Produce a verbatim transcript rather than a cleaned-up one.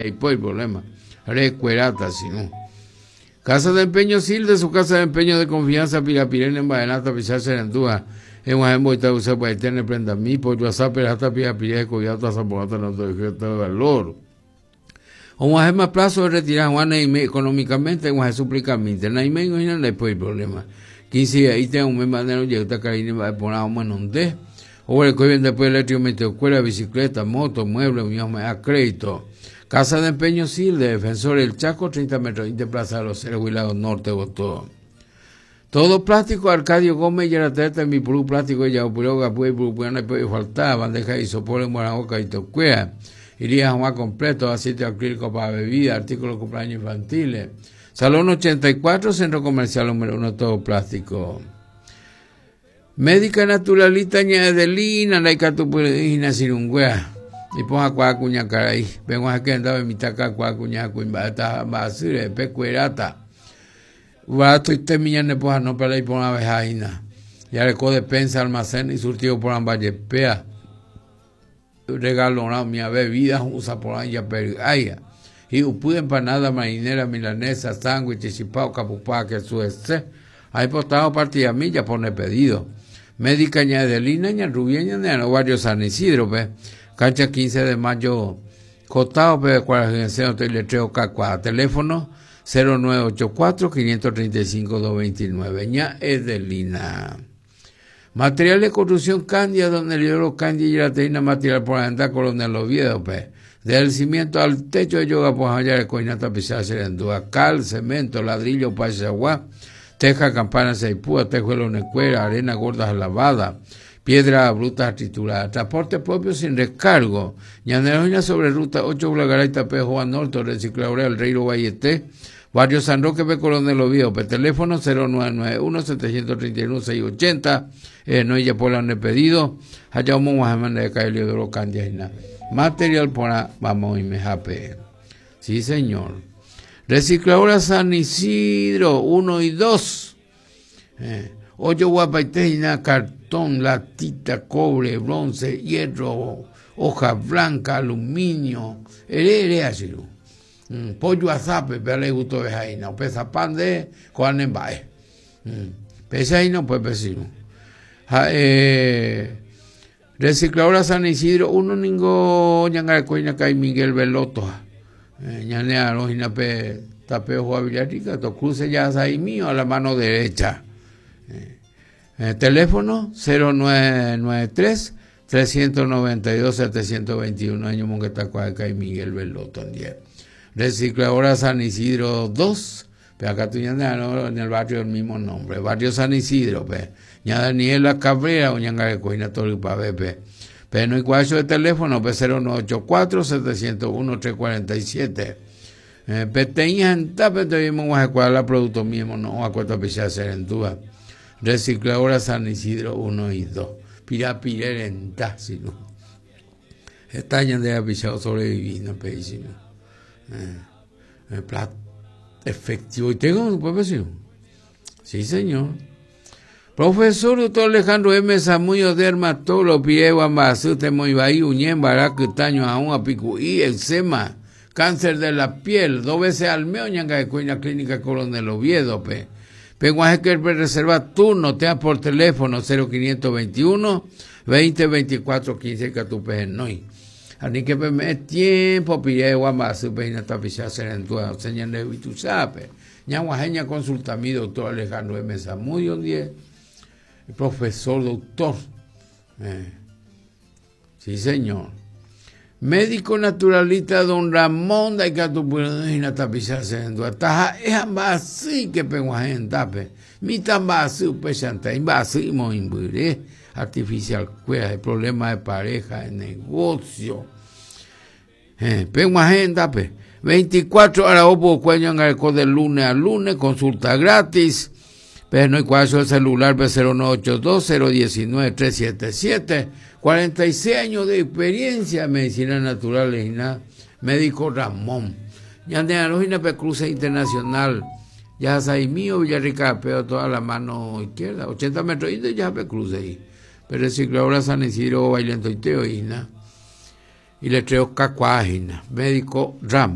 Hay problema. Recuerata, sino. Casa de empeño Sil de su casa de empeño de confianza, Pirapirene, Baenata, Pichar, Serendúa. En Guajembo, Itaúsa, Paitene, Prenda, Mi, Pollo, Azapera, hasta Pirapirene, Coyata, Zapogata, no de valor. O más plazo de retirar Juan económicamente, Juan suplicamente. Naime, no hay problema. quince ahí tengo un mes manero, llega Karine, va a poner un de. O el que después electro, escuela, bicicleta, moto, mueble, unión a crédito. Casa de empeño Sil de Defensor El Chaco, treinta metros de Plaza de los Ceros, Huilado Norte, Botó. Todo plástico, Arcadio Gómez, Yarateta, mi puru plástico, Yaupuroga, Puy, Purupuana, Puy, faltaba, bandeja y sopor en Buenaboca y Tocuea. Iría a completo, aceite acrílico para bebida, artículos de cumpleaños infantiles. Salón ochenta y cuatro, Centro Comercial número uno, todo plástico. Médica naturalista, Ñadelina, Laicatupurina, Sirungüea. Y ponga cuá cuña caray. Vengo a que andaba en mi taca cuá cuña cuimba basure pecuerata. Barato y te ne poja no para ir por una vejaina. Ya le co despensa almacén y surtido por ambayepea. Regalo mi bebida usa por ahí pero ay. Y upu empanada marinera milanesa sándwich chipao capupá que suese. Ahí postado partida milla pone pedido. Médica ñadelina ña rubia ña no barrio San Isidro pe. Cancha quince de mayo, costado, pe, cuarenta y letreo Cacua, teléfono cero nueve ocho cuatro, quinientos treinta y cinco, doscientos veintinueve, ña Edelina. Material de construcción Candia, donde el libro Candia y la teina material por andar Coronel Oviedo, pe. Del cimiento al techo de yoga, pues allá de coina tapizada, serendúa, cal, cemento, ladrillo, paisagua, teja, campana, seipúa, tejuelo, necuera, arena gorda lavada, piedra bruta triturada, transporte propio sin recargo. Ñaneroina sobre ruta ocho, Blagaray, Tapejo, Norte, Recicladora, El Rey, Valleté, Barrio San Roque, P. Coronel Oviedo, P. Teléfono cero nueve nueve uno, setecientos treinta y uno, seiscientos ochenta, eh, no ella por la pedido, allá un de Caelio de Oro Candia, material por vamos y me jape. Sí, señor. Recicladora San Isidro, uno y dos. Eh, ocho guapaitejina, cartón, latita, cobre, bronce, hierro, hoja blanca, aluminio, ere, así. Mm, pollo azape, pero le gustó de jaina, o pesa pan de coanembae. Pesa ahí no puede pesir. Eh, recicladora San Isidro, uno ningo ñangarecoina kai Miguel Veloto. Eh, ñanea rojina pe tapeo Juan Villarrica, to cruce ya ahí mío a la mano derecha. Eh, eh, teléfono cero nueve nueve tres, trescientos noventa y dos, setecientos veintiuno, año Monguetacuaca y Miguel Veloto. Recicladora San Isidro dos, pero acá tú ya en el barrio del mismo nombre, barrio San Isidro, pe. Ña Daniela Cabrera, Oñangarecoina, Tolipa, pe. Pero no hay cuatro de teléfono, pe cero nueve ocho cuatro, setecientos uno, trescientos cuarenta y siete. Eh, Peteña, pero tuvimos a producto mismo, no, a cuatro pichas serendúa. Recicladora San Isidro uno y dos. Pirapirerenta, si no. Esta año de apichado sobreviviendo, pedísimo. Eh, eh, plat efectivo. ¿Y tengo un vecino? Sí, señor. Profesor doctor Alejandro M. Samuyo, dermatólogo, Piegua, Mbasute, Moibaí, Uñén, Barac, Taño, Aún, Apicuí, eczema, cáncer de la piel, dos veces al mes, Ñanga de Cuña, Clínica Coronel Oviedo, pe. Penguaje que reserva turno, te por teléfono cero quinientos veintiuno, veinte veinticuatro, quince, catupe, noi. Ani que me tiempo pide guamba su peina tapisa serendua, señal de vitusape. Ñaguajeña consulta a mi doctor Alejandro M. Samudio, diez, profesor doctor. Eh. Sí, señor. Médico naturalista don Ramón de Catupurina tapisa serendua. Taja es ambasí que penguajen tape. Mi tambasí pechanta, imbasí moimburé. Artificial cueva, de problemas de pareja, de negocio. Eh, penguajen tape. veinticuatro horas opo cuello en el de lunes a lunes, consulta gratis. Pero no hay cuatro el celular B cero nueve ocho dos, cero diecinueve, tres siete siete. cuarenta y seis años de experiencia en medicina natural y nada. Médico Ramón. Ya de Arojina P. Cruce Internacional. Ya ahí mío, Villarrica, pero toda la mano izquierda. ochenta metros y ya P. Cruce ahí. Pero recicladora San Isidro, Bailento y Teo y nada. Iletrero kakuaahína, médico ramo.